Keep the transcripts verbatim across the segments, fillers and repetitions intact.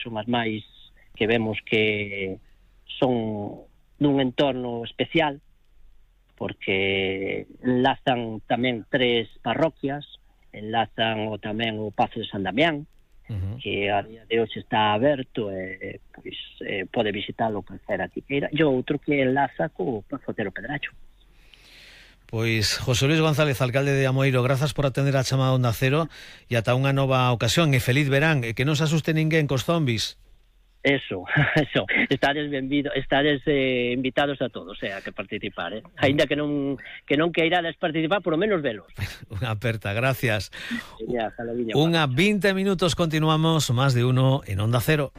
son as máis que vemos que son dun entorno especial, porque enlazan tamén tres parroquias, enlazan o tamén o Pazo de San Damián, uh-huh. que a día de hoxe está aberto e pois, eh, pode visitalo calquera que queira, e outro que enlaza co Pazo Otero Pedracho. Pois, José Luis González, alcalde de Amoeiro, grazas por atender a chamada Onda Cero e ata unha nova ocasión, e feliz verán, e que non se asuste ninguén cos zombis. Eso, eso, estares benvidos, estares eh, invitados a todos, eh, a que participar, eh. Ainda que non que non queirades participar, por lo menos velos. Unha aperta, gracias. Ya, Unha vinte minutos, continuamos, más de uno en Onda Cero.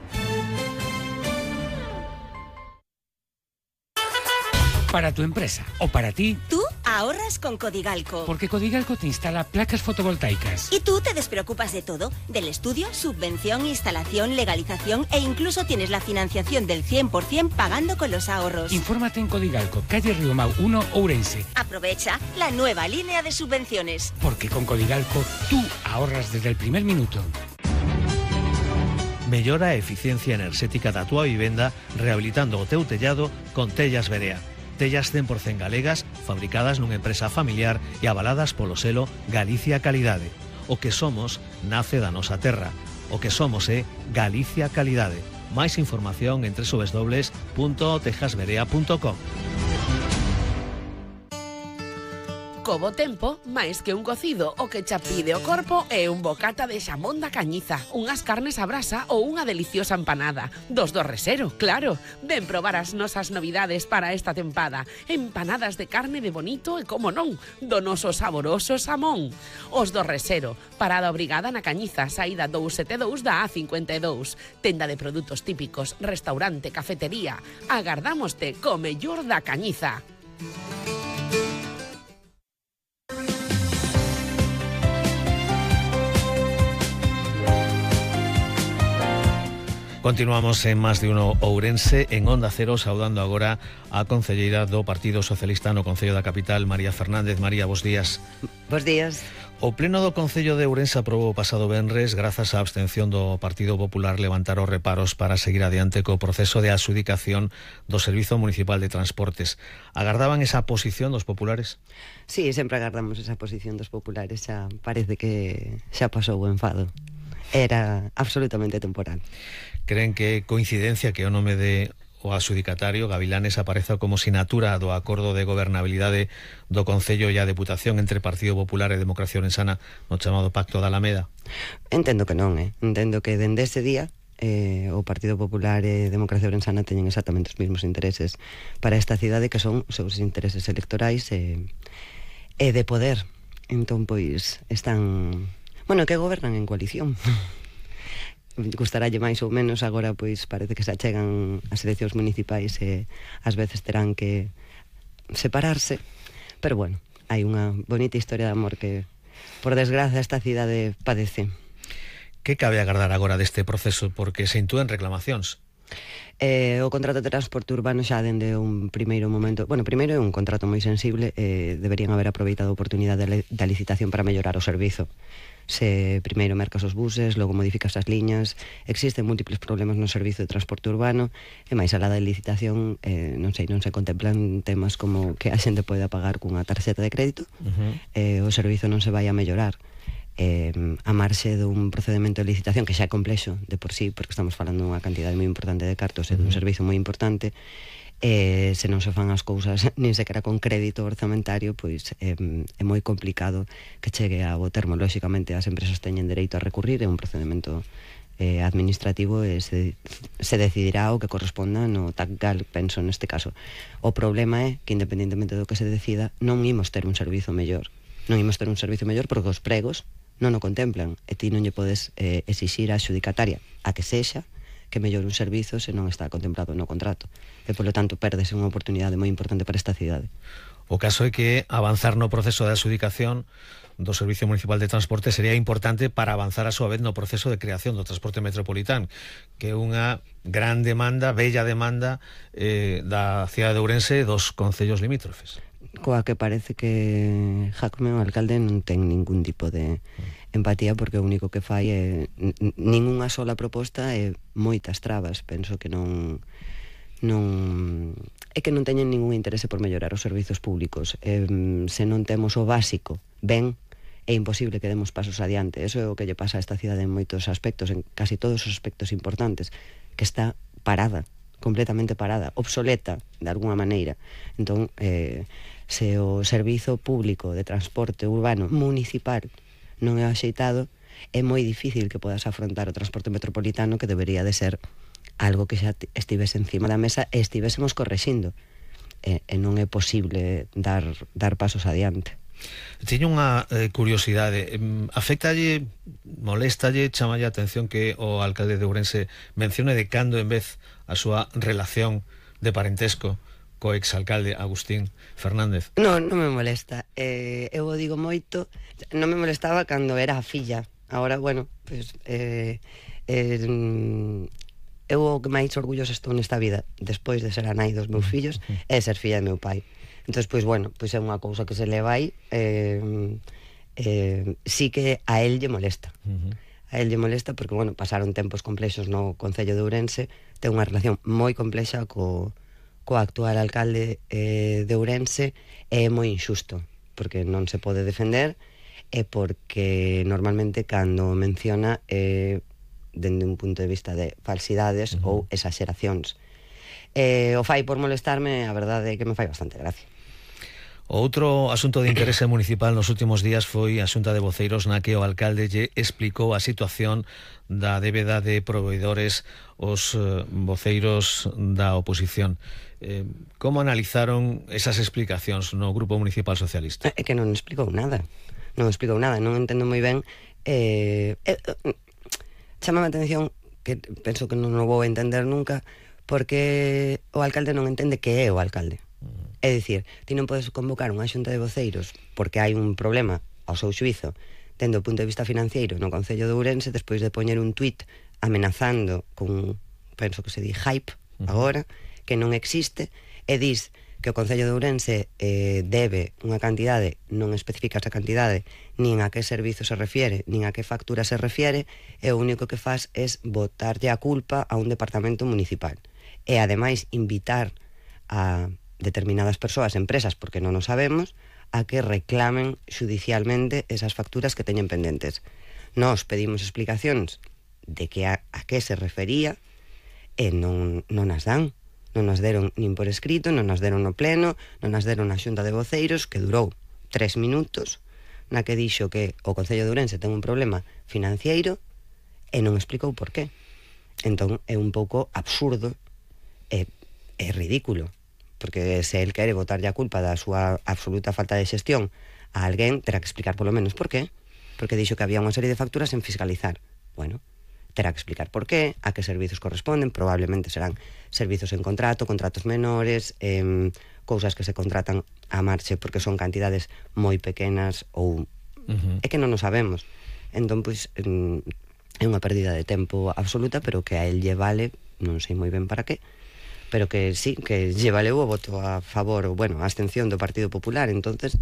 Para tu empresa o para ti. Tú ahorras con Codigalco. Porque Codigalco te instala placas fotovoltaicas. Y tú te despreocupas de todo, del estudio, subvención, instalación, legalización e incluso tienes la financiación del cien por ciento pagando con los ahorros. Infórmate en Codigalco, calle Riomau uno, Ourense. Aprovecha la nueva línea de subvenciones. Porque con Codigalco tú ahorras desde el primer minuto. Mellora a eficiencia enerxética da túa vivenda rehabilitando o teu tellado con Tellas Berea. Tellas cen por cento galegas, fabricadas nunha empresa familiar e avaladas polo selo Galicia Calidade. O que somos nace da nosa terra. O que somos é Galicia Calidade. Máis información en doble u doble u doble u punto tejas berea punto com. Co bo tempo, máis que un cocido, o que xa pide o corpo é un bocata de xamón da Cañiza, unhas carnes a brasa ou unha deliciosa empanada. Dos do Resero, claro. Ven probar as nosas novidades para esta tempada. Empanadas de carne de bonito e, como non, do noso saboroso xamón. Os do Resero, parada obrigada na Cañiza, saída dous sete dous da A cincuenta e dous. Tenda de produtos típicos, restaurante, cafetería. Agardámoste co mellor da Cañiza. Continuamos en Más de Uno Ourense, en Onda Cero, saudando agora a concelleira do Partido Socialista no Concello da Capital, María Fernández. María, bos días. Bos días. O Pleno do Concello de Ourense aprobou o pasado venres, grazas á abstención do Partido Popular, levantar os reparos para seguir adiante co proceso de adxudicación do Servizo Municipal de Transportes. Agardaban esa posición dos populares? Sí, sempre agardamos esa posición dos populares, xa parece que xa pasou o enfado. Era absolutamente temporal. Creen que coincidencia que o nome de o adxudicatario Gavilanes apareza como sinatura do acordo de gobernabilidade do Concello e a Deputación entre Partido Popular e Democracia Orensana no chamado Pacto da Alameda? Entendo que non, eh? Entendo que dende ese día eh, o Partido Popular e Democracia Orensana teñen exactamente os mesmos intereses para esta cidade, que son os seus intereses electorais e, e de poder. Entón, pois, están... Bueno, que gobernan en coalición. Gustaralle máis ou menos, agora pois parece que se achegan as eleccións municipais e ás veces terán que separarse, pero bueno, hai unha bonita historia de amor que, por desgracia, esta cidade padece. Que cabe agardar agora deste proceso, porque se intúen reclamacións? Eh, o contrato de transporte urbano xa dende un primeiro momento, bueno, primeiro é un contrato moi sensible, eh, deberían haber aproveitado a oportunidade da licitación para mellorar o servizo. Se primeiro mercas os buses, logo modificas as liñas, existen múltiples problemas no servizo de transporte urbano, e máis alá da licitación, eh, non sei, non se contemplan temas como que a xente poida pagar cunha tarxeta de crédito, uh-huh. eh, o servizo non se vai a mellorar. Eh, a marxe dun procedimento de licitación que xa é complexo de por sí, porque estamos falando dunha cantidade moi importante de cartos e dun servizo moi importante, e se non se fan as cousas nin sequera con crédito orzamentario, pois é, é moi complicado que chegue a bo termo. Lóxicamente as empresas teñen dereito a recurrir, é un procedimento eh, administrativo e se, se decidirá o que corresponda no T A C G A L, penso neste caso. O problema é que, independentemente do que se decida, non imos ter un servizo mellor. Non imos ter un servizo mellor porque os pregos non o contemplan, e ti non lle podes eh, exixir a adxudicataria a que sexa que mellor un servizo se non está contemplado no contrato, e polo tanto perdese unha oportunidade moi importante para esta cidade. O caso é que avanzar no proceso de adxudicación do Servicio Municipal de Transporte sería importante para avanzar a súa vez no proceso de creación do transporte metropolitano, que é unha gran demanda, bella demanda eh, da cidade de Ourense e dos concellos limítrofes. Coa que parece que Jacome, o alcalde, non ten ningún tipo de empatía porque o único que fai é ningunha sola proposta e moitas trabas. Penso que non non é que non teñen ningún interese por mellorar os servizos públicos. Eh, se non temos o básico ben, é imposible que demos pasos adiante. Eso é o que lle pasa a esta cidade en moitos aspectos, en casi todos os aspectos importantes, que está parada, completamente parada, obsoleta de alguna maneira. Entón, eh, se o servizo público de transporte urbano municipal non é axeitado, é moi difícil que podas afrontar o transporte metropolitano, que debería de ser algo que xa estivese encima da mesa e estivésemos correxindo. E, e non é posible dar, dar pasos adiante. Teño unha eh, curiosidade. Afectalle, moléstalle, chamalle a atención que o alcalde de Ourense mencione de cando en vez a súa relación de parentesco co exalcalde Agustín Fernández? Non, non me molesta. Eh, eu o digo moito. Non me molestaba cando era a filla. Agora, bueno, pues, eh, eh, eu o que máis orgulloso estou nesta vida, despois de ser a nai dos meus fillos, é ser filla de meu pai. Entón, pois, bueno, pois é unha cousa que se le vai, eh, eh, sí que a él lle molesta. Uh-huh. A él lle molesta porque, bueno, pasaron tempos complexos no Concello de Ourense, ten unha relación moi complexa co, co actual alcalde eh, de Ourense, é moi injusto, porque non se pode defender, e porque normalmente cando menciona eh, dende un punto de vista de falsidades uh-huh. ou exageracións. Eh, o fai por molestarme, a verdade é que me fai bastante gracia. Outro asunto de interese municipal nos últimos días foi a xunta de voceiros na que o alcalde lle explicou a situación da débeda de proveedores os eh, voceiros da oposición. Eh, como analizaron esas explicacións no Grupo Municipal Socialista? É que non explicou nada. Non explicou nada, non entendo moi ben. Eh, eh, Chámame a atención, que penso que non o vou entender nunca, porque o alcalde non entende que é o alcalde. É dicir, ti non podes convocar unha xunta de voceiros porque hai un problema ao seu xuizo dende o punto de vista financiero no Concello de Ourense despois de poñer un tuit amenazando con, penso que se di hype agora, que non existe, e dis que o Concello de Ourense eh, debe unha cantidade, non especifica esa cantidade, nin a que servizo se refiere, nin a que factura se refiere, e o único que faz é botarlle a culpa a un departamento municipal. E ademais invitar a determinadas persoas, empresas, porque non o sabemos, a que reclamen judicialmente esas facturas que teñen pendentes. Nós pedimos explicacións de que a, a que se refería e non, non as dan. Non nas deron nin por escrito, non nas deron no pleno, non nas deron na xunta de voceiros, que durou tres minutos, na que dixo que o Concello de Ourense ten un problema financiero e non explicou por qué. Entón é un pouco absurdo e é ridículo, porque se el quere botarlle a culpa da súa absoluta falta de xestión a alguén, terá que explicar polo menos por qué, porque dixo que había unha serie de facturas en fiscalizar. Bueno, terá que explicar por qué, a que servizos corresponden, probablemente serán servizos en contrato, contratos menores, eh, cousas que se contratan a marche porque son cantidades moi pequenas ou uh-huh. é que non o sabemos. Entón, pois, é unha pérdida de tempo absoluta, pero que a el lle vale, non sei moi ben para qué, pero que sí, que lle valeu o voto a favor, ou, bueno, a abstención do Partido Popular. Entonces,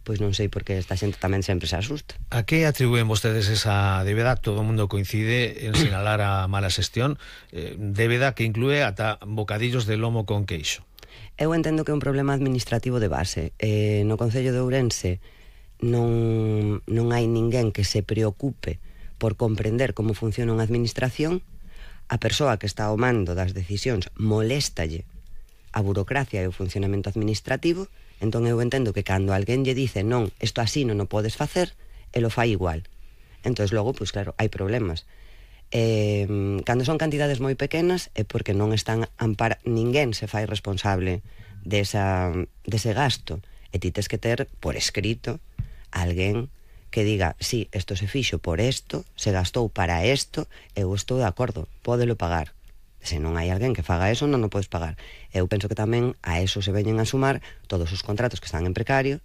pois non sei por que esta xente tamén sempre se asusta. A que atribúen vostedes esa débeda? Todo o mundo coincide en sinalar a mala xestión, eh, débeda que inclúe ata bocadillos de lomo con queixo. Eu entendo que é un problema administrativo de base. Eh, no Concello de Ourense non, non hai ninguén que se preocupe por comprender como funciona unha administración. A persoa que está ao mando das decisións moléstalle a burocracia e o funcionamento administrativo. Entón eu entendo que cando alguén lle dice non, isto así non o podes facer, el o fai igual. Entón logo, pois claro, hai problemas. Eh, cando son cantidades moi pequenas é porque non están ampar... ninguén se fai responsable desa, dese gasto, e ti tes que ter por escrito alguén que diga, sí, isto se fixo por isto, se gastou para isto, eu estou de acordo, pódelo pagar. Se non hai alguén que faga eso, non o podes pagar. Eu penso que tamén a eso se veñen a sumar todos os contratos que están en precario,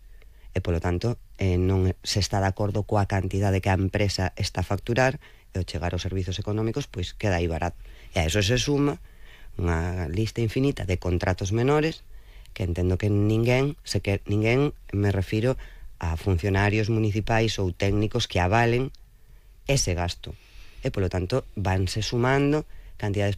e polo tanto eh, non se está de acordo coa cantidade que a empresa está a facturar, e ao chegar aos servizos económicos, pois queda aí barato. E a eso se suma unha lista infinita de contratos menores que entendo que ninguén, se que ninguén, me refiro a funcionarios municipais ou técnicos que avalen ese gasto. E, polo tanto, vanse sumando cantidades pequenas